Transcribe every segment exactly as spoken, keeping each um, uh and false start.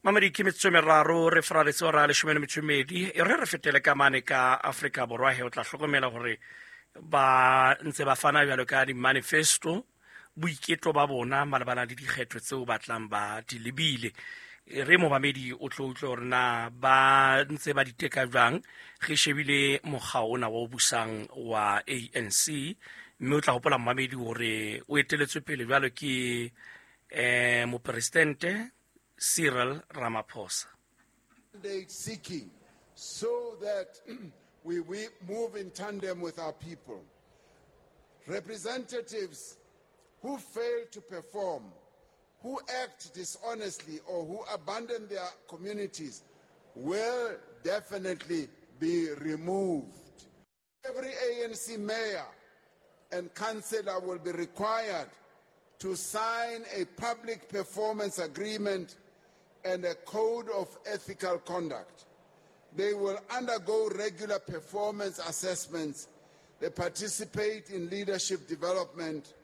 Mamedi, ke metsotso e meraro re faraletse ora ya leshome le metso e mmedi. E re re fetele ka mane ka Afrika Borwa he, o tla hlokomela hore ba ntse ba fana jwalo ka di-manifesto, boiketlo ba bona malebana le dikgetho tseo ba tlang ba di lebile. E re momamedi o tlo utlwe hore na ba ntse ba di teka jwang, re shebile mokga ona wa o busang wa A N C, mme o tla hopola, momamedi, hore o eteletswe pele jwalo ke eh mopresidente Cyril Ramaphosa. Mandate seeking so that we, we move in tandem with our people. Representatives who fail to perform, who act dishonestly, or who abandon their communities will definitely be removed. Every A N C mayor and councillor will be required to sign a public performance agreement and a code of ethical conduct. They will undergo regular performance assessments. They participate in leadership development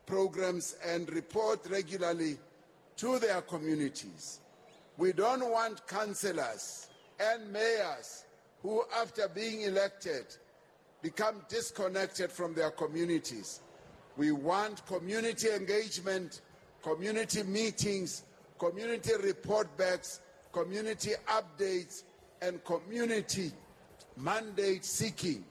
programs and report regularly to their communities. We don't want councillors and mayors who, after being elected, become disconnected from their communities. We want community engagement, community meetings, community report backs, community updates, and community mandate seeking.